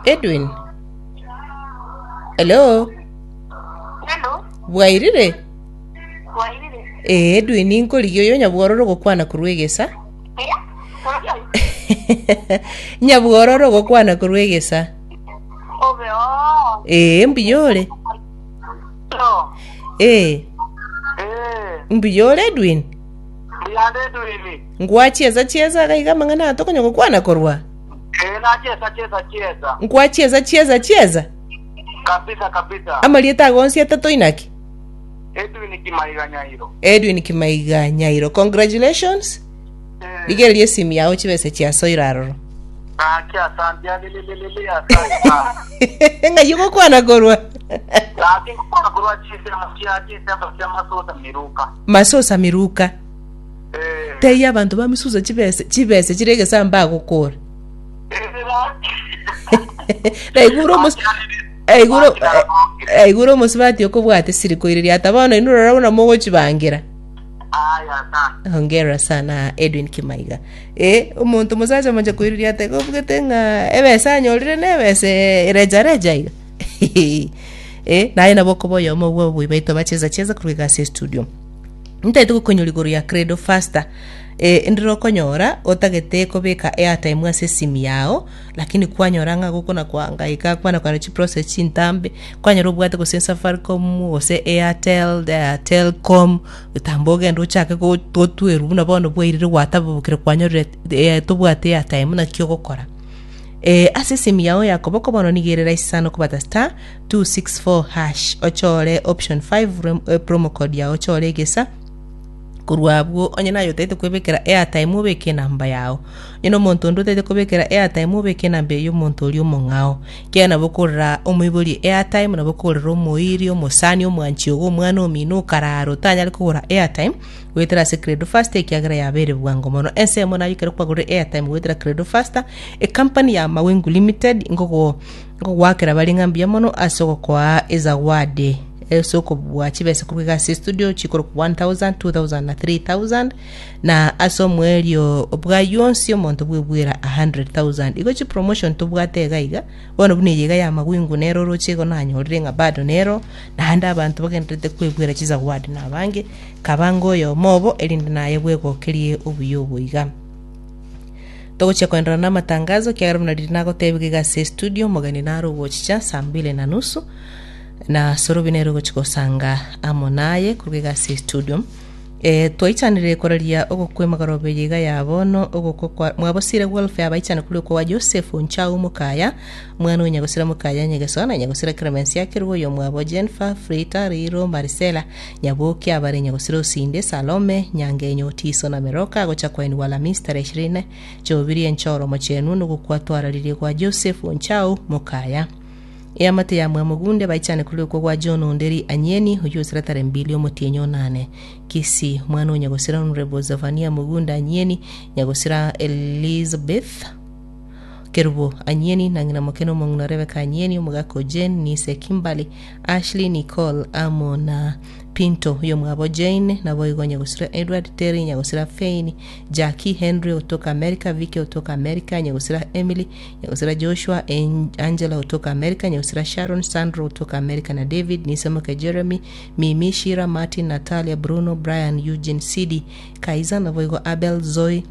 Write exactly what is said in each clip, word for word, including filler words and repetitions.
Edwin. Hello. Hello, Bwairire? bwairire. Ee, Edwin nkorigia oyo Nyabwororo gokwana korwa egesa. Eh? Oyo. Nyabwororo gokwana korwa egesa. Obe o. Ee, mbuya ore. No. Ee, Eh, mbuya ore Edwin. mbuyande Edwin. Ngwachieza chieza iga iga amang'ana aya tokonya gokwana korwa. Eh, nacheza cheza cheza. Nkwachieza chieza chieza. Kabisa kabisa. Amarieta agonsi atato inaki? Edwin Kimaiga Nyairo. Edwin Kimaiga Nyairo. Congratulations. Eh, Rigereria esimu yao chibese chiasoire aroro. Gaki asante alililili asante sana. Ng'ai ogokwana korwa? Gaki ngokwana korwa chisemo chia chisemo chia Masosa Miruka. Masosa Miruka. Eh. Teiyo abanto ba Misusa chibese chibese chire egesa mbagokora. Eh, gaki. Naigure omos aigure aigure omosubati okobwate siri koireria ata bono inwe rora buna mogochibangira. Aya asante. Hongera sana Edwin Kimaiga. Eh, omonto mosacha mocha koireria ata igo obugete ng'a ebesa anyorire na ebesa erejareja iga. Eh, naye nabo okoba oyomo bwa oboi baito bacheza cheza korwa iga ase estudio. Ntaete gokonyora igoro ya Credo Faster. Eh, ndire okonyora otagete kobeka airtime ase esimu yao lakini kwanyora ng'a gokona koangaika kwana kwana chiprocess chintambe kwanyora obwate gose Safaricom gose Airtel eh, Telcom getambo ogende ochake go- gotwerwa buna bono bwairire gwatabokire kwanyorire eh, tobwate airtime naki ogokora. Eh, ase esimu yao ya koboko bono nigo ere rahisi sana okobata star two six four hash ochore option five rem, eh, promo code yao ochore egesa korwa abwo onye naye otaete kwebekera airtime obeke enamba yao onye na omonto onde otaete kobekera airtime obeke enamba eye omonto oria omong'ao ekiagera nabo okorora omoibori airtime nabo okorora omoiri omosani omwanchi ogo omwana omino okarara otanyare kogora airtime goetera ase Credo Faster ekiagera yabeire bwango mono. Ensemo naye ekero kwagorire airtime goetera Credo Faster ecompany ya Mawingu Limited ngogo ngogoakera bare ng'a mbuya mono ase ogokoa ezawadi ase okobua chibesa korwa iga ase estudio chikorokwa one thousand, two thousand na three thousand na ase omoerio bwaywo onsi omonto bwebwera a hundred thousand. Igo chipromotion tobwate iga iga bono buna eye iga ya Mawingu nero oroche igo nanyorire ng'a bado nero naende abanto bagendererete kwebwera chizawadi na abange kabange oyomo obo erinde naye bwegokerie obuya obo iga. Togochia koenderera na amatangazo ekiagera buna riria nagotebiga iga ase estudio omogeni nare ogochicha saa mbili na nusu na Sorobi nere ogochia gosanga amo naye korwa iga ase estudio. Eh, twaichanire koraria ogokwa emagoroba eye iga ya bono ogokwa kwa mwabosire welfare abaichane kori okwa Joseph Onchau Mokaya omwana o Nyagosira Mokaya Nyegeso na Nyagosira Clemence Akerwa oyo mwabo Jennifer Frita Riro Maricela Nyaboki abare Nyagosira Osinde Salome Nyangenyo Otiso na Meroka agocha kwainigwa Alhamisi tarehe ishirini Jumapili enchoro mochenu nogokwa twararirie kwa Joseph Onchau Mokaya. Eamate ya Mwamogunde baichane kori okwo gwa John Onderi Anyeni oyio osira tarehe mbili omotienyi onane Kisii omwana o Nyagosira Honorable Zephania Mugunda Anyeni Nyagosira Elizabeth Kerubo Anyeni na ng'ina moke na omong'ina Rebecca Anyeni omogaka o Jane Nise Kimberly Ashley Nicole amo na Pinto oyo mwabo Jane naboigo Nyagosira Edward Terry Nyagosira Fein Jackie Henry otoka America Vicky otoka America Nyagosira Emily Nyagosira Joshua En- Angela otoka America Nyagosira Sharon Sandro otoka America na David Nisemoke Jeremy Mimi Shira Martin Natalia Bruno Brian Eugene Sidi Kaiza naboigo Abel Zoe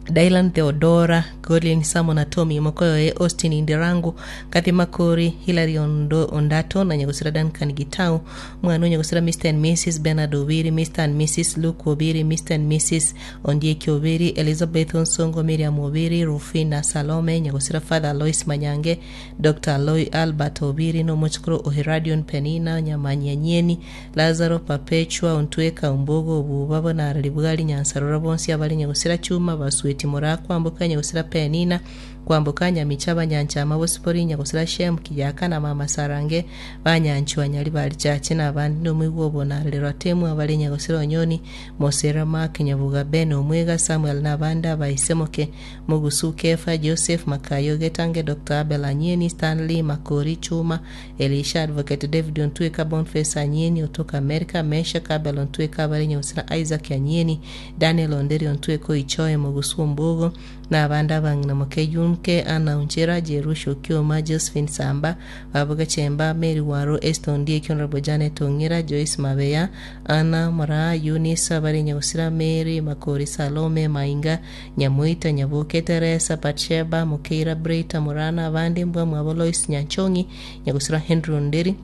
Dylan Theodora, Godwin Simon Atomi, Mokoyoe, Austin Indirangu, Kathy Makori, Hilary Ondo, Ondato na Nyagosira Duncan Gitau, mwana o Nyagosira Mister and Missus Bernard Obiri, Mister and Missus Luke Obiri, Mister and Missus Ondieki Obiri, Elizabeth Onsongo, Miriam Obiri, Rufina Salome, Nyagosira Father Alois Manyange, Doctor Aloy Albert Obiri, no Mochukuru Oheradion Penina, Nyamanyanyeni, Lazaro Perpetua Ontweka Ombogo, Obubabo na Araribwari Nyansarora bonsi abari Nyagosira Chuma Basweti Mora Kwamboka Nyagosira Penina Kwamboka Nyamicha Banyanchama Bosipori Nyagosira Shem Kijaka na Mama Sarange Banyanchwa Nyari Bari Chache na abandi nomwigwa obonarerwa Temu abari Nyagosira Onyoni Mosera Mark Nyabuga Ben Omwega Samuel na abandi abaisemoke Mugusu Kefa Joseph Makayo Getange Doctor Abel Anyeni Stanley Makori Chuma Elisha Advocate David Ontweka Boniface Anyeni otoka America Mesha Kabel Ontweka abari Nyagosira Isaac Anyeni Daniel Onderi Ontweka Oichoe Mugusu Ombogo Na abande abang'ina moke Yunke Anna Onchera Jerusha Okioma Josephine Samba Babu Gachemba Mary Waro Esther Ondieki Honorable Janet Ong'ira Joyce Mabeya Anna Moraa Eunice abare Nyagusira Mary Makori Salome Mainga Nyamoita Nyaboke Teresa Batsheba Mokeira Brita Morana abande mbwa mwabo Lois Nyanchong'i Nyagusira Henry Onderi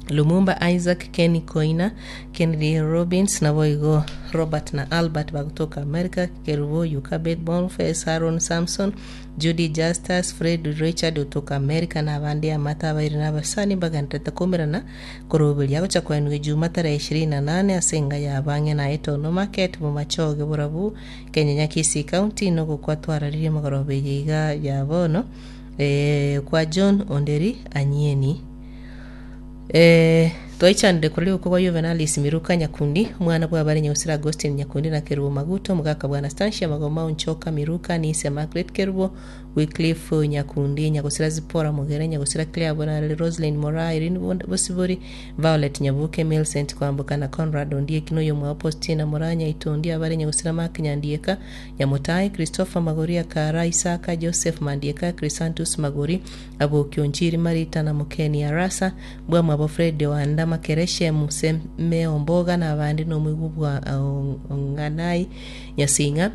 Lumumba Isaac Kenny Koina Kennedy Robbins naboigo Robert na Albert bagotoka America Kerubo Yukabet Boniface Aaron Samson Judy Justus Fred Richard otoka America na abande amata abaire na abasani bagenderete kumerana koroberia gocha kwenwa Juma tarehe ishirini na nane ase enga ya abang'e na Etono Market Bomachoge Borabu Kenya Kisii County nogokwa twararirie magoroba eye iga ya bono eh, kwa John Onderi Anyieni. Eh, twaichanire kuri uko kwa Juvenalis Miruka Nyakundi omwana bwabare Nyausira Agustin Nyakundi na Kerubo Maguto omogaka bwa Anastasia Magoma Onchoka Miruka Nise Margaret Kerubo Wycliffe Nyakundi Nyagusira Zipora Mugere Nyagusira Claire Bonareli Roslyn Mora Irene Bond- Bosibori Violet Nyabuke Millicent Kwamboka na Conrad Ondieki noyo mwa Postina Moranya Itondi abare Nyagusira Mark Nyandieka Nyamutai Christopher Magori Akara Isaka Joseph Mandieka Chrysanthus Magori Abokio Nchiri Marita na Mukeni Arasa bwa mwabo Fred Wanda Makereshe Museme Omboga na abandi nomwigu bwa Ong'anai Nyasinga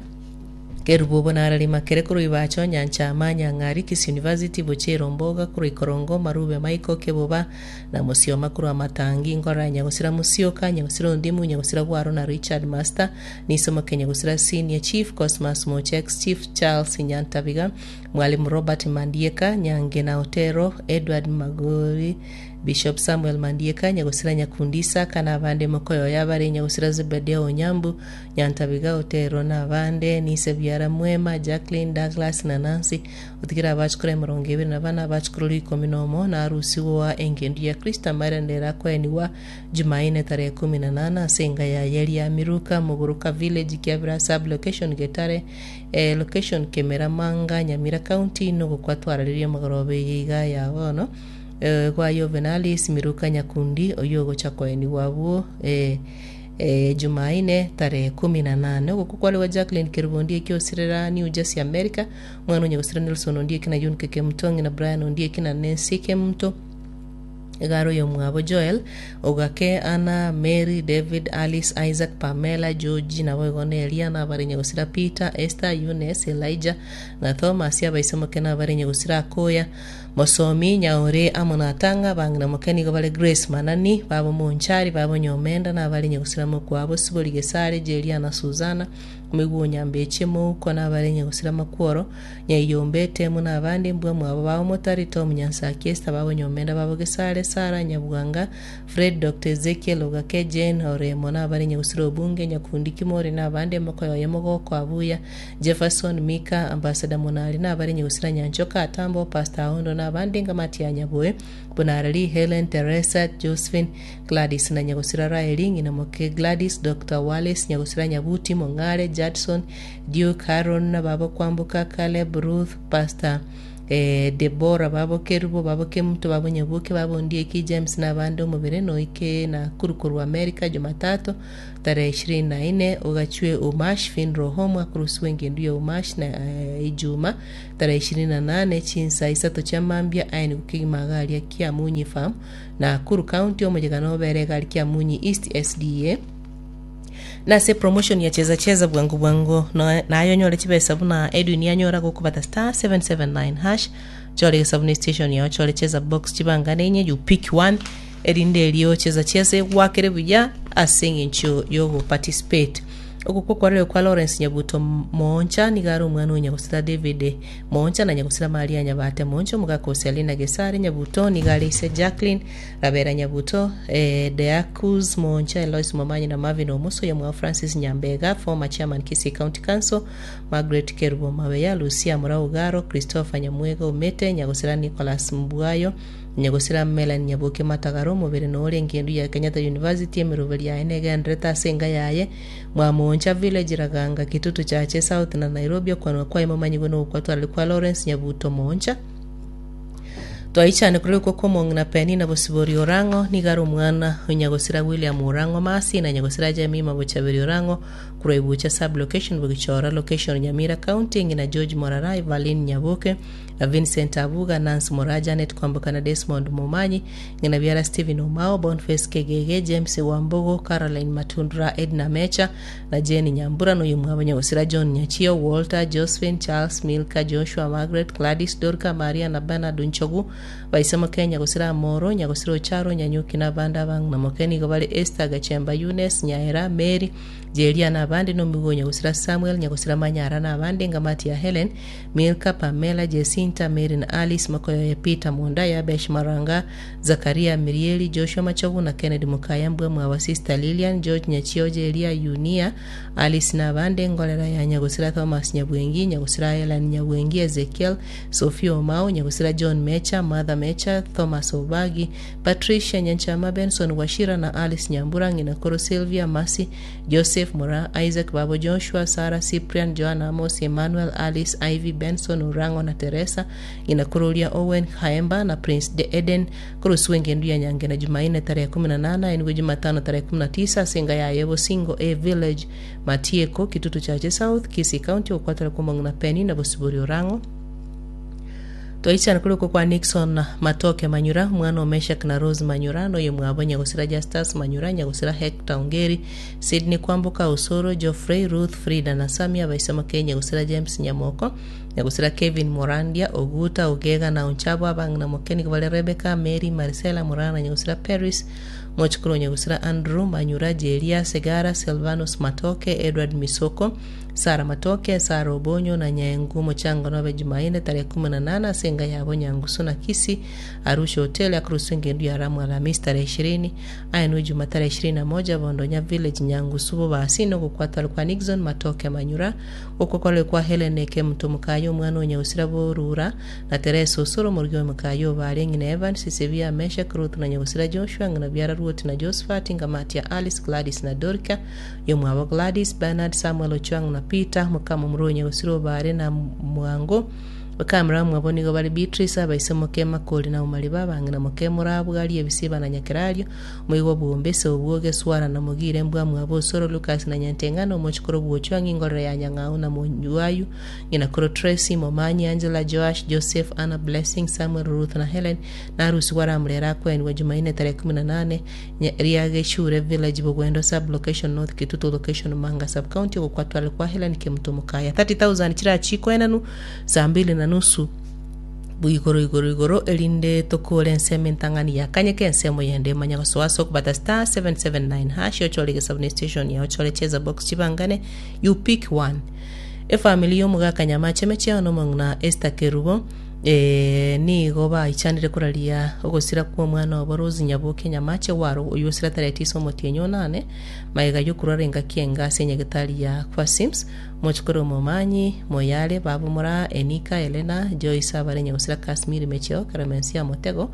Kerubo bonarari makere korwa ibacho Nyanchama Nyang'ari Kisii University Bochero Mboga korwa Ikorongo Marube Michael Keboba na Musioma korwa Matangi Ngora Nyagusira Musioka Nyagusira Ondimu Nyagusira Gwaro na Richard Master Nisomo Nyagusira Senior Chief Cosmas Mochex Chief Charles Nyantabiga Mwalimu Robert Mandieka Nyangena Otero Edward Magori Bishop Samuel Mandieka Nyagusira Nyakundisa kana abande mokoyo yabare Nyagusira Zebedea Onyambu Nyantabiga Otero na abande Nise Biara Mwema Jacqueline Douglas na Nancy otigera abachukuru emirongo ebere na bana abachukuru ikomi nomo na arusiwa wa engendu ya Krista marendera kweniwa Jumaine tarehe kumi na nana ase enga ya yeri ya Miruka Muguruka Village Kiabira sub location Getare eh, location Kemera Manga Nyamira County nogokwa twararirie magoroba eye iga ya bono eh, kwa Juvenalis Miruka Nyakundi oyo ogocha koeniwa abwo eh, eh, Jumaine tarehe kumi na nane ogoku kwariwa Jacqueline Kerubo Ondieki osirera New Jersey America omwana onyagosira Nelson Ondieki na Yunke Kemutongi na Brian Ondieki na Nancy Kemuto egaro yo mwabo Joel Ogake Anna Mary David Alice Isaac Pamela George nabo igo na Elia na abare nyagosira Peter Esther Eunice Elijah na Thomas abaisomoke na abare nyagosira Akoya Mosomi Nyaore amo na Atanga bang'ina moke nigo bare Grace Manani babo Monchari babo Nyomenda na abare nyagosira Mokwabo Sibori Gesare Jeria na Suzana omigwo Nyambeche Mouko na abare nyagosira Makworo Nyaiyombe Temu na abande mbwa mwabo babo Motari Tom Nyansaki Esther babo Nyomenda babo Gesare Sara Nyabwanga Fred Dr Ezekiel Ogake Jane Oremo na abare nyagosira Obunge Nyakundi Kimori na abande mokoyoye Mogoko Abuya Jefferson Mika Ambassador Monari na abare nyagosira Nyanchoka Atambo Pastor Aondo na abande ngamati ya Nyaboe Bonarari Helen Teresa Josephine Gladys na nyagosira Raeli ng'ina moke Gladys Dr Wallace nyagosira Nyabuti Mong'are Judson Duke Aaron na babo Kwamboka Caleb Ruth Pastor eh, Debora babo Kerubo babo Kemuto babo Nyabuke babo Ondieki James na abande omobere noike na kurukurwa America Jumatatu tarehe ishirini na nne ugachwe Umash Funeral Home akurusiwe engendu ya Umash na eh, Ijuma tarehe ishirini na nane chinsa isato chia mambia aini kukigima garia Kiamunyi Farm na Nakuru County omojegano obere gari Kiamunyi East S D A nase promotion ya cheza cheza bwangu bwangu no- nayo nyore chibesa buna Edwin yanyora gokubata star seven seven nine hash chore sabuni station yao chore cheza box chibangane enye you pick one erinde erio cheza cheze gwakere buya ase eng'encho yogo participate Ogo kwarire kwa Lawrence Nyabuto Moncha nigaro omwana onyagosira David Moncha na nyagosira Maria Nyabate Moncha omogaka Selina Gesare Nyabuto nigare ise Jacqueline Rabera Nyabuto eh, Deacus Moncha Elois Momanyi na Marvin Omuso ya mwa Francis Nyambega former chairman Kisii County Council Margaret Kerubo Mabeya Lucia Muraugaro Christopher Nyamwega Umete nyagosira Nicholas Mbwayo nyagosira Melanie Nyabuke Matagaro mubere nore ngendu ya Kenyatta University emiruberi yaye negenderete ase enga yaye Mwamoncha Village Raganga Kitutu Chache South na Nairobi okwanwa kwaye momanyiwe nogokwatwarire kwa Lawrence Nyabuto Moncha Twaichane kurikwo kw'omong'ina Penina Bosibori Orang'o nigo are omwana o Nyagosira William Orang'o Masi na Nyagosira Jemima Bochaberi Orang'o korwa Ibucha sub-location Bogichora location Nyamira County ng'ina George Morara Evaline Nyaboke na Vincent Abuga Nancy Moraa Janet Kwamboka na Desmond Momanyi ng'ina biara Stephen Omao Boniface Kegege James Wambogo Caroline Matundura Edna Mecha na Jane Nyambura na oyomwabo Nyagosira John Nyachio Walter Josephine Charles Milka Joshua Margaret Gladys Dorka Maria na Bernard Nchogu baisemo Kenya Nyagosira Amoro Nyagosira Ocharo Nyanyuki na abande abang'ina moke nigo bare Esther Gachemba Eunice Nyaera Mary Jeria na abande na omoigo Nyagosira Samuel Nyagosira Manyara na abande Ngamati ya Helen Milka Pamela Jacinta Mary na Alice Makoyoye Peter Munda Yabesh Maranga Zakaria Mirieli Joshua Machogu na Kennedy Mukaya Mbwa Mwawa Sister Lilian George Nyachio Jeria Yunia Alice na abande Ngorera ya Nyagosira Thomas Nyabwengi Nyagosira Helen Nyabwengi Ezekiel Sophia Omao Nyagosira John Mecha Martha Mecha Thomas Obagi Patricia Nyanchama Benson Washira na Alice Nyambura ng'ina Koro Sylvia Masi Joseph Mura Isaac Babo Joshua Sarah Cyprian Joanna Amos Emmanuel Alice Ivy Benson Orango na Teresa ng'ina Kororia Owen Haemba na Prince de Eden Koroswe ngendu ya Nyange na Jumanne tarehe kumi na nane enwe Jumatano tarehe kumi na tisa Singa ya Yebo Singo A Village Matieko Kitutu Chache South Kisii County okwatara kw'omong'ina Penny na Bosibori Orango Twaichana kuliko kwa Nixon Matoke Manyura mwana o Meshak na Rose Manyura noyo mwabo Nyagosira Justus Manyura Nyagosira Hector Ongeri Sydney Kwamboka Osoro Geoffrey Ruth Frida na Samia baisema Kenya Nyagosira James Nyamoko Nyagosira Kevin Morandia Oguta Ogega na Onchabo abang'ina Mokeni bale Rebecca Mary Marcela Morana Nyagosira Paris Mochikuru Nyagosira Andrew Manyura Jeria Segara Silvanus Matoke Edward Misoko Sara Matoke Sara Obonyo na Nyaengu Mochango nobe Jumaine tarehe kumi na nane asenga yabo Nyangusu na Kisi Arusha Hotel akurusu ngendu ya Ramu Alhamisi tarehe ishirini ayenwe Juma tarehe ishirini na moja Bondonya Village Nyangusu bobasi nogokwatwa kwa Nixon Matoke Manyura okwakwalwe kwa Helen Eke Mutumukayo omwana o Nyagusira Borura na Teresa Osoro morugi wa Mukayo bare ng'ina Evans Sisibia Meshak Ruth na Nyagusira Joshua ng'ina Biara Ruth na Josephat Ngamatia Alice Gladys na Dorika yomwabo Gladys Bernard Samuel Ochuang na Peter mukama omuro Nyagusira obare na Mwango bakamera mwabo nigo bari Beatrice abaise moke Makori na Umari babang'ina moke Morabwari ebisiba na Nyakerario moigo bwombese obwoge swara na Mugire mbwa mwabo Osoro Lucas na Nyantengano omochikoro bwochwa ng'ingorero ya Nyang'au na Monyuayu ng'ina koro Tracy Momanyi Angela Joash Joseph Anna Blessing Samuel Ruth na Helen na arusi waramurera kwenwa Jumanne tarehe kumi na nane Riageshure Village Bugwendo sub location North Kitutu location Manga sub county ogokwatwara kwa Helen Kemutumukaya thirty thousand chirachikwa enanu saa mbili na nusu igoro igoro igoro erinde tokore ensemo entang'ani yakanyeka ensemo yende manya gosoa okobata star seven seven nine hash ochore gesabuni station ya ochore cheza box chibangane you pick one efamily y'omogaka Nyamache mecheo nomong'ina Esther Kerubo eh, nigo baichanire koraria ogosira kwa omwana obo Rose Nyaboke Nyamache waro oyo osira tarehe tisa omotienyi onane maega yokurwara engaki enga ase enyagetari ya kwa Sims mochikoro Momanyi Moyale Babu Mora Enika Elena Joyce abare Nyagosira Kasmiri Mecheo Karamensia Motego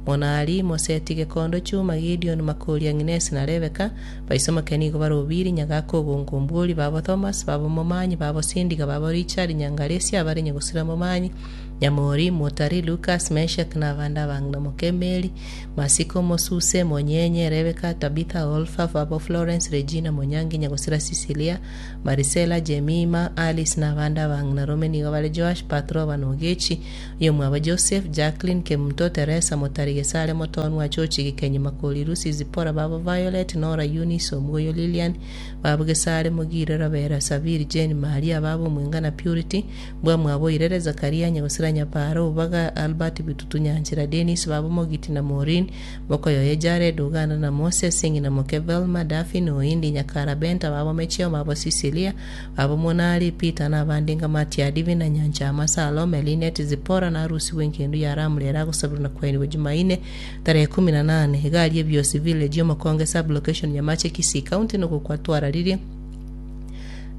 Monari Moseti Gekondo Chuma Gideon Makoria Agnes na Rebecca baisoma kenigo barobiri Nyagako Gongombori Babo Thomas Babo Momanyi Babo Sindiga Babo Richard Nyangaresi abare Nyagosira Momanyi Nyamori Motari Lucas Meshak na abanda abang'ina Mokemeli Masiko Mosuse Monyenye Rebecca Tabitha Olfa Babo Florence Regina Monyangi Nyagosira Cecilia Marisela Jemima Alice na abanda abang'ina Rome nigo bare Joash Patro Banogechi yomwabo Joseph Jacqueline Kemuto Teresa Motari Gesare Motonwa Chochi Gikenyi Makori Lucy Zipora Babo Violet Nora Eunice Omugoyo Lilian Babo Gesare Mugire Rabera Sabiri Jane Maria Babo Mwenga na Purity Mbwa Mwabo Irere Zakaria Nyagosira Nyaparo Ubaga Albert Bitutu Nyanchira Dennis Babo Mogiti na Maureen Mokoyoye Jared Uganda na Moses Singi na Moke Velma Daphne Oindi Nyakara Benta Babo Mecheo Babo Cecilia Babo Monali Peter na abandi Ngamatia Divina Nyanchama Salome Linet Zipora na Arusi wenkendu ya Ramulera gusabira na kweni Jumanne tarehe kumi na nane egari ebyosi village yomakonge sub location Nyamache Kisii County nogokwatwara riria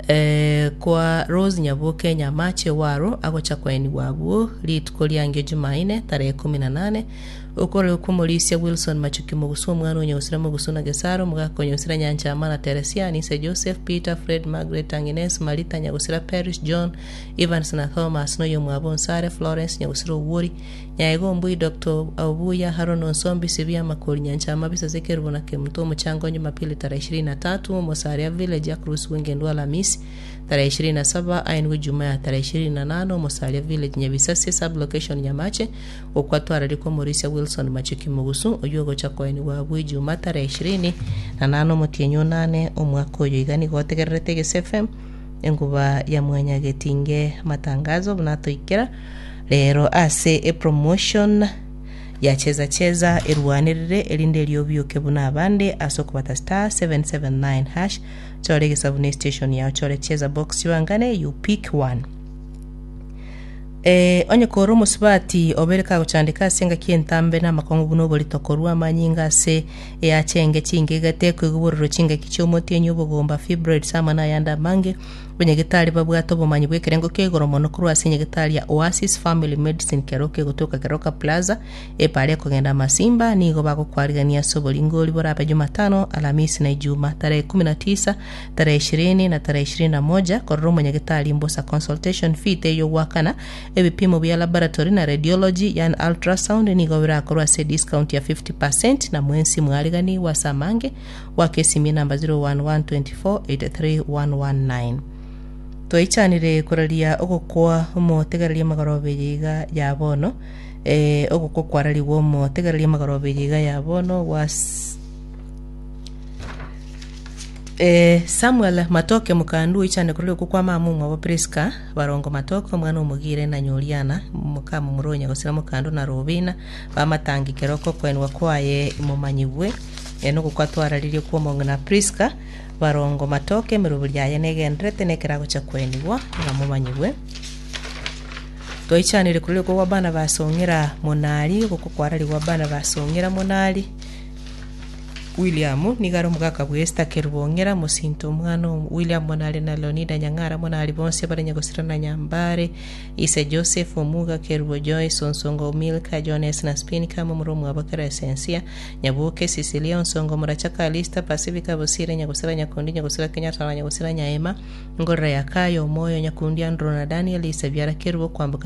eh, kwa Rose Nyaboke Nyamache waro agocha kwaeniwa abwo rituko riange Jumanne tarehe kumi na nane okorere kw'omorisia Wilson Machuki Mogusu omwana onyosira Mogusu na Gesaro omogaka onyosira Nyanchama na Teresia Nise Joseph Peter Fred Margaret Agnes Marita Nyagusira Paris John Evans na Thomas noyo mwabo Nsare Florence Nyagusira Owuori Nyaego Mbui Dr. Obuya Haron Onsombi Sibia Makori Nyanchama Bisase Kerubo na Kemuto Omochango Jumapili tarehe ishirini na tatu Omosaria Village Across Wengendo Alhamisi tarehe ishirini na saba ainwe Jumaa ya tarehe ishirini na nane Omosaria Village Nyabisase sublocation Nyamache okwatwara kwa Morisia Wilson Machuki Mugusu oyo gocha koeni wa Juma tarehe ishirini na nane omotienyi onane omwaka oyo iga nigo otegererete Gese F M enguba ya mwanya getinge matangazo bunatoikera rero ase epromotion ya cheza cheza erwanirire erinde eriobiuke buna abande ase okobata star seven seven nine hash chore egesabune station yao chore cheza box chiwangane you pick one. Eh, onye kora omusubati obere kagochandika ase engaki entambe na amakongo buna oborito korwa amanyinga ase eyachenge chingegete koigwa chingaki chiomotienyi obogomba fibroids ama na ayande amange abanyagetari babwate obomanyi bwa ekerengo kia igoro mono korwa ase enyagetari ya Oasis Family Medicine Keroka egotoka Keroka Plaza epare ekogenda Masimba nigo bagokwarigania ase oboringori borabe Jumatano Alhamisi na Ijumaa tarehe kumi na tisa tarehe ishirini na tarehe ishirini na moja korora omonyagetari mbosa consultation fee teyo gwakana ebipimo bya laboratory na radiology yani ultrasound nigo birakorwa ase discount ya fifty percent na mwensi mwarigani wa samange wakesimia namba zero one one two four eight three one one nine. Twichanire kuraria ogokwa omotegereria magorobe yiga ya bono eh ogokwa kwarariwa omotegereria magorobe yiga ya bono was eh Samuel Matoke mukandu ichane kuraria okwa mamu mwabo Priska barongo Matoke omwana omugire na Nyoriana mukamu muronya gosira mukandu na Robina bamatangi keroko kwenwa kwaye mumanyibwe eno gukatwararirie kwa omong'ina Priska barongo Matoke miruburi yaye negenderete nekerago cha kwenigwa nga mumanyibwe. Twichanire kuri kwa bana basongera monari gukukwararigwa bana basongera monari William nigaro mugaka bwesta kerubongera musinto omwana William monari na Leonida Nyang'ara monari bonse barenya gosira na Nyambare Ise Joseph Omuga Kerubo Joyce Onsongo Milka Jones na Spinka mumurumu abakara Esensia Nyabuke Cecilia Onsongo Murachaka Alista Pacifica Bosire Nyagosira Nyakundi Nyagosira Kenyatta na Nyagosira Nyaema Ngorra ya Kayo Moyo Nyakundi Andro na Daniel Ise Biara Kerubo kwambuka.